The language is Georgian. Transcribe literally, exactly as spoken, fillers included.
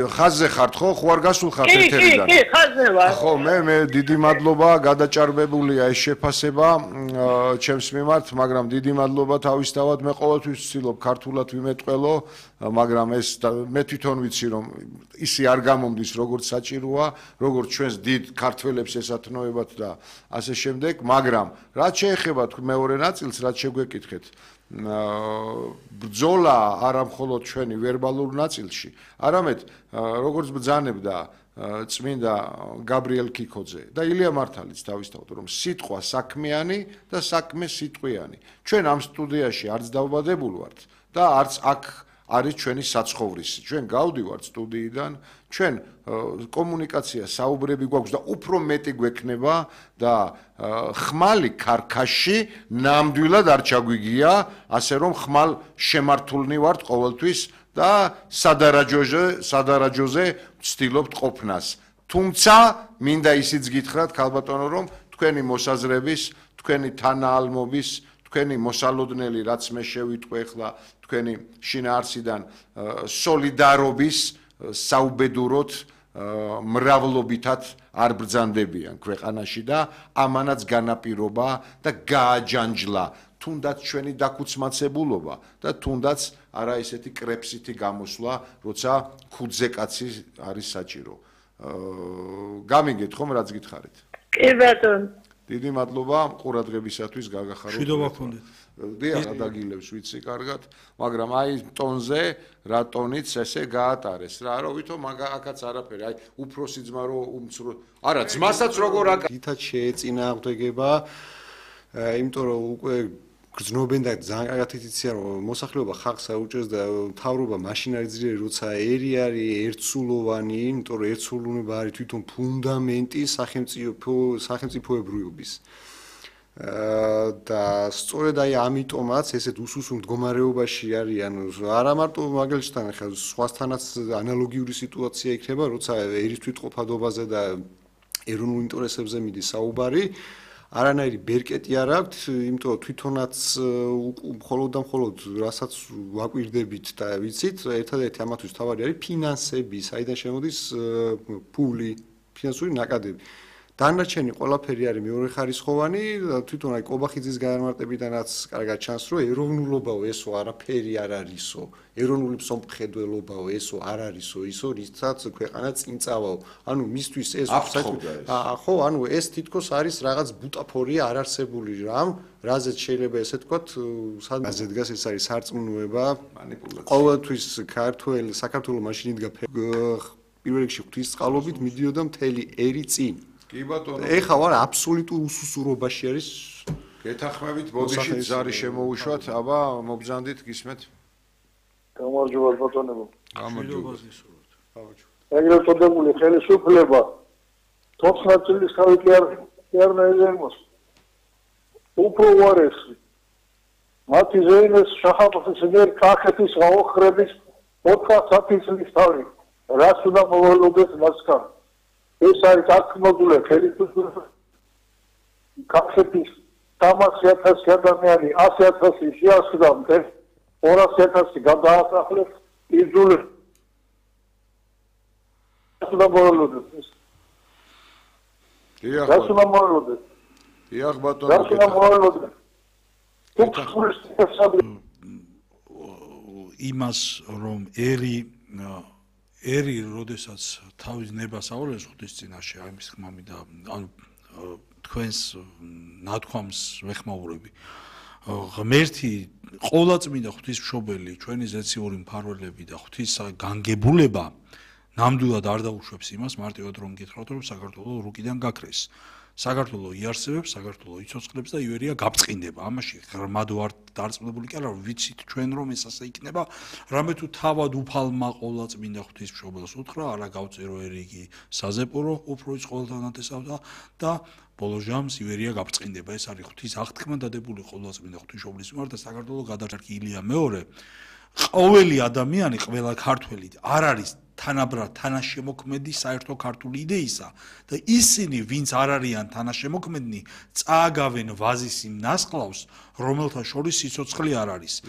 ხაზზე ხართ ხო? ხო არ გასულხართ კი, ეთერიდან? კი, ხაზზე ვარ. ხო, მე მე დიდი მადლობა, გადაჭარბებულია ეს შეფასება ჩემს მიმართ, მაგრამ დიდი მადლობა თავისთავად. მე ყოველთვის ვცდილობ ქართულად ვიმეტყველო, მაგრამ ეს მე თვითონ ვიცი რომ ისი არ გამომდის როგორც საჭიროა, როგორც ჩვენს დიდ ქართველებს ესათნოებათ და ასე შემდეგ, მაგრამ რაც შეეხება მეორე ნაწილს, რაც შეგვეკითხეთ, ბრძოლა არა მხოლოდ ჩვენი ვერბალურ ნაწილში, არამედ როგორც ბრძანებდა წმინდა გაბრიელ ქიქოძე და ილია მართალიც თავისთავად რომ სიტყვა საქმიანი და საქმე სიტყვიანი. ჩვენ ამ სტუდიაში არც დავბადებული ვართ და არც აქ არის ჩვენი საცხოვრისი. ჩვენ გავდივართ სტუდიიდან, ჩვენ კომუნიკაცია საუბრები გვაქვს და უფრო მეტი გვექნება და ხმალი ქარქაში ნამდვილად არ ჩაგვიგია, ასე რომ ხმალ შემართულნი ვართ ყოველთვის და სადარაჯოზე, სადარაჯოზე ვცდილობთ ყოფნას. თუმცა მინდა ისიც გითხრათ, ქალბატონო, რომ თქვენი მოსაზრების, თქვენი თანაალმობის, თქვენი მოსალოდნელი, რაც მე შევიტყვე ახლა თქვენი შინაარსიდან სოლიდარობის საუბედუროთ მრავლობითად არ ბრძანდებიან ქვეყანაში და ამანაც განაპირობა და გააჯანჯლა თუნდაც ჩვენი დაქუცმაცებულობა და თუნდაც არა ესეთი კრეფსითი გამოსვლა, როცა ქუძე კაცი არის საჭირო. გამიგეთ ხომ რაც გითხარით? კი ბატონო. დიდი მადლობა ყურადღებისათვის, გაგახაროთ. მშვიდობა გქონდეთ. დიახ, ადაგილებს ვიცი კარგად, მაგრამ აი ტონზე რა ტონიც ესე გაატარეს რა, რომ ვითომ აქაც არაფერი, აი უფროსი ძმა რო უმცრო, არა, ძმასაც როგორ აკ თითად შეეწინააღმდეგება, იმიტომ რომ უკვე გრძნობენ და ძალიან კარგად იციან რომ მოსახლეობა ხალხს აუჭერს და მთავრობა მაშინ არის ძლიერი, როცა ერი არის ერთსულოვანი, იმიტომ რომ ერთსულოვნება არის თვითონ ფუნდამენტი სახელმწიფო სახელმწიფოებრიობის. და სწორედ აი ამიტომაც ესეთ უსუსო მდგომარეობაში არიან არა მარტო მაგალითად ახლა სხვასთანაც ანალოგიური სიტუაცია იქნება, როცა ერის თვითყოფადობაზე და ეროვნულ ინტერესებზე მიდის საუბარი. არანაირი ბერკეტი არ აქვთ, იმიტომ რომ თვითონაც მხოლოდ და მხოლოდ რასაც ვაკვირდებით და ვიცით, ერთადერთი ამათვის თავარი არის ფინანსები, საიდან შემოდის ფული, ფინანსური ნაკადები. დანარჩენი ყველაფერი არის მეორეხარისხოვანი, თვითონ აი კობახიძის განმარტებიდანაც კარგად ჩანს, რომ ეროვნულობაო ესო არაფერი არ არისო, ეროვნული მსოფლმხედველობაო ესო არ არისო, ისო რითაც ქვეყანა წინ წავაო. ანუ მისთვის ეს ხო, ანუ ეს თითქოს არის რაღაც ბუტაფორია არარსებული რამ, რაზეც შეიძლება ესე თქვათ, სადაზე დგას ეს არის სარწმუნოება, ყოველთვის ქართველ საქართველოს მაშინ იდგა პირველ რიგში ღვთისწყალობით მიდიოდა მთელი ერი წინ. კი ბატონო. ეხლა ვარ აბსოლუტურ უსუსურობაში არის. გეთანხმებით, ბოდიში ზარი შემოუშვათ, აბა მობრძანდით გისმეთ. გამარჯობა ბატონებო. გამარჯობა. ეგრეთ წოდებული ხელისუფლება თოთხმეტ წლის თავი კი არ კი არ ნაიზემოს. უფრო უარესი. მათი ზეინეს შაჰ-აფხაზის მიერ კახეთის გაოხრების ოთხმოცდაათი წლის თავი. რას უნდა მოვალოდეს მასთან? ეს არის აქტმოდულე ხელისუფლება კახეთის სამასი ათასი ადამიანი ასი ათასი შეასხდა მტერ ორასი ათასი გადაასახლეს იძულეს უნდა მოვალოდეს დიახ რას უნდა მოვალოდეს დიახ ბატონო რას უნდა მოვალოდეს იმას რომ ერი ერი როდესაც თავის ნებას აურევს ღვთის წინაშე, აი მის ხმამი და ანუ თქვენს ნათქვამს ვეხმაურები. ღმერთი ყოვლადწმინდა ღვთისმშობელი, ჩვენი ზეციური მფარველები და ღვთის განგებულება ნამდვილად არ დაუშვებს იმას, მარტივად რომ გითხრათ, რომ საქართველოს რუკიდან გაქრეს. საქართველოს იარსებებს, საქართველოს იცოცხლებს და ივერია გაბწყინდება. ამაში ღრმად ვარ დარწმუნებული კი არა, ვიცით ჩვენ რომ ეს ასე იქნება, რამე თუ თავად უფალმა ყოვლადწმინდა ღვთისმშობელს უთხრა, არა გავწერო ერიგი საზეპურო, უფროიც ყოველთანათესავდა და ბოლო ჟამს ივერია გაბწყინდება. ეს არის ღვთის აღთქმა დადებული ყოვლადწმინდა ღვთისმშობლის მიმართ და საქართველოს გადაჭარბი ილია მეორე. ყოველი ადამიანი, ყველა ქართველი არ არის თანაბრად თანაშემოქმედი საერთო ქართული იდეისა და ისინი, ვინც არ არიან თანაშემოქმედნი, წააგავენ ვაზის იმ ნასყლავს, რომელთა შორის სიცოცხლე არ არის.